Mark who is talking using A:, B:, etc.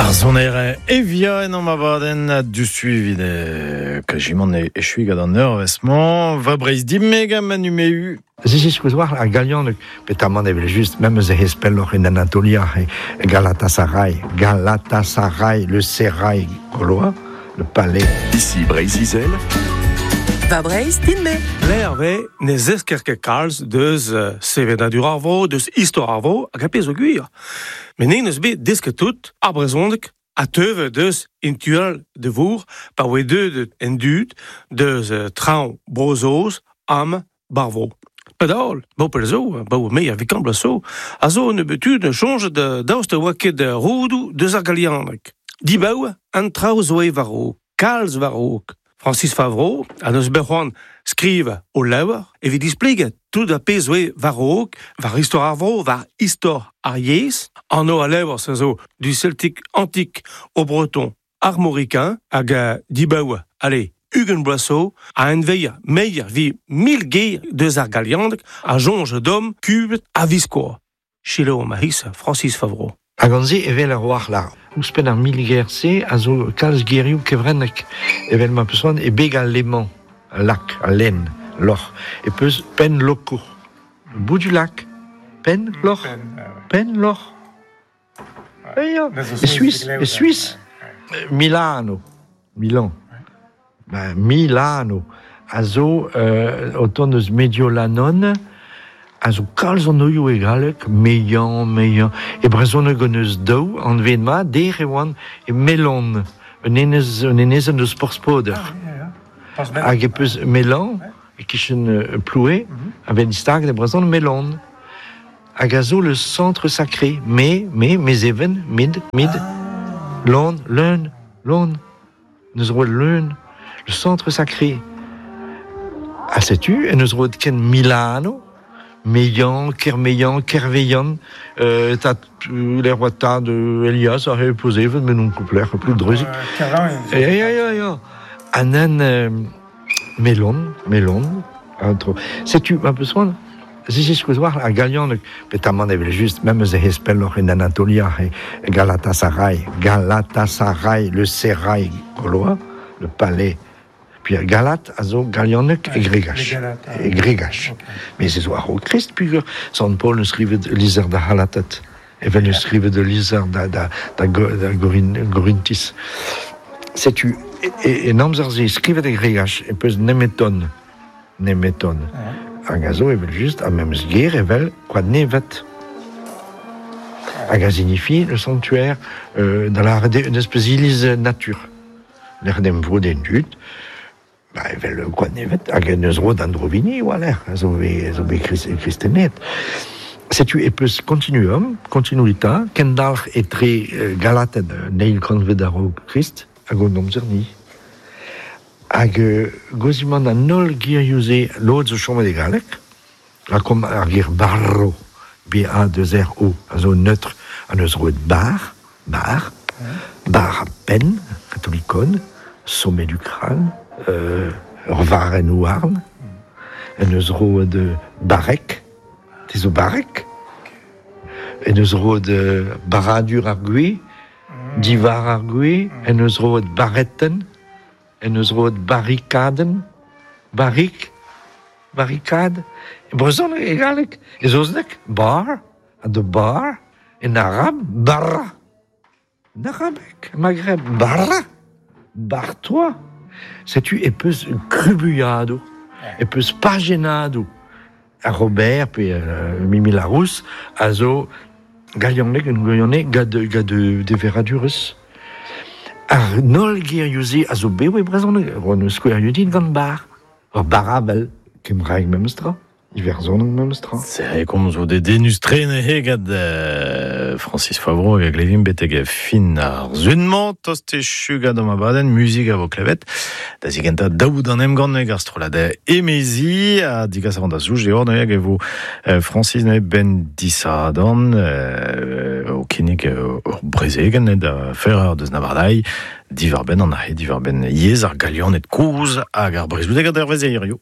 A: Ar soner evia en am abadenn a du suivit kajimant e echui gant an eur vesman va breiz dimeg am anumeu.
B: Zis war ar galianeg petamant evel just même eus e pelloc'h en Anatolia e Galatasaray Galatasaray le Serail gaulois le palais.
C: Ici Breizh-Izel.
D: Va Breizh din-me.
E: L'Hervé ne zesker ket kalz deus sevenadur ar vro, deus istor ar vro, hag a pezh zo gwir. Met n'en eus bet desket tout ar brezhoneg a teuve deus intual de vour pa oe deuet en dud deus traoñ Bro-Saoz am bar vro. Padal, bo pell zo, bo me a vikan bloaz zo, a zo nebeut tud soñjet daoust a oa ket roudoù deus ar galianeg. Dibaoe an traoù zo eo war-raok, kalz war-raok. Francis Favreau a neus bet c'hoant skrivañ o levr evit displegañ tout ar pezh zo eo war-raok, war istor ar vro, war istor ar yezh. Anv al levr se zo du celtique antique au breton armoricain hag dibaoe, allez, 20 bloaz zo, a enveier meier vi mil ger deus ar galianeg a soñj d'hom kubet a-viskoazh. Selaou ma c'hiz Francis Favreau.
B: Hag an se evel ar war-lar. Ouzhpenn ar milger-se a zo kalz gerioù kevrennek, evel ma peus c'hoant e beg al lemañ, al lak, al lenn, loc'h, e peus penn lokour. Bout du lac, penn loc'h, penn loc'h. Ya, e Suis, e Suis, Milano, Milan. Ben, Milano a zo o tont eus Mediolanon, a zo kalz anvioù e galleg, Meilhan, Meilhan. E brezhoneg hon eus daou anvet mat, der e oant e Melon, un enez, un enezenn eus Porspoder. Hag e peus Melan, e-kichen Ploue, a vez distaget e brezhoneg Melon. Hag a zo le centre sacré, me, me, Mezeven, mid, mid, lon, leun, lon. N'eus roet leun le centre sacré. Ha setu en deus roet ken Milano, Meilhan, Kermeilhan, Kerveilhan, tad lec'h oa tad Elias a c'hell pozevet, met non lec'h plus dreuzik. Ya, ya, ya, ya. An Melon, Melon, an tro. Setu ma peus c'hoant, ziziskouez war ar galianeg, petamant evel-just, memes e pelloc'h en Anatolia, e Galatasaray, Galatasaray, le Serail gaulois, le palais. Puis ar Galat a zo galianeg e gregach. E gregach. Mais se zo a-raok Krist, pugur Sant Paul neus skrivet lizher da C'halated, evel neus skrivet ul lizher da, da, da, da Gorintiz. Setu, en amzer-se, skrivet e gregach, e peus nemeton. Nemeton. Hag a zo evel-just ar memes ger evel koad nevet. Hag a signifie le sanctuaire, da lâret eo un espèce iliz natur. Lec'h en em vod en dud, ba evel koad nevet, hag en eus roet an drovini war-lerc'h, a zo bet, zo bet kristenet. Setu e peus continuum, continuita, kendalc'h etre Galated an eil kantved a-raok Krist hag hon amzer-ni. Hag gozimant an holl gerioù-se, lod zo chomet e galleg, lakaomp ar ger barro, B-A-2-R-O, a zo neutr, ha neus roet bar, bar, bar ha penn, katolikon, sommet du crâne, ur varrenn houarn, en deus roet barrek, te zo barrek, en deus roet barradur ar gwez, diwar ar gwez, en deus roet barretenn, En deus roet barrikadenn, barrik, barrikad, e brezhoneg, e galleg, e saozneg, bar, ha de bar, en arab, barra. En arabeg, Maghreb, barra, bar-toi. Setu e peus krubuilhadoù, e peus pajennadoù. Ar Robert pe Mimi Larousse a zo galianeg, un gwirionez gant gant deveradurezh. Ar holl gerioù-se a zo bev e brezhoneg. Roan eus skouerioù dit gant bar. Ur barabel, kembraeg memes tra. Iwerzhoneg memes tra.
A: Se komzo dedennus-tre neuze gant Francis Favreau hag a glevimp betek fin ar sun-mañ. Tost echu gant an abadenn, muzik a vo klevet. Da zigentañ daoud an emgann ar strollad emezi ha digas a ran da zouj deoc'h neuze hag e vo Francis neuze ben disadorn o kinnig ur brezegenn da Ferrer deus Navardai diwar-benn an ahe diwar-benn yezh ar Galianed kozh hag ar brezhoneg a dervez hiziv.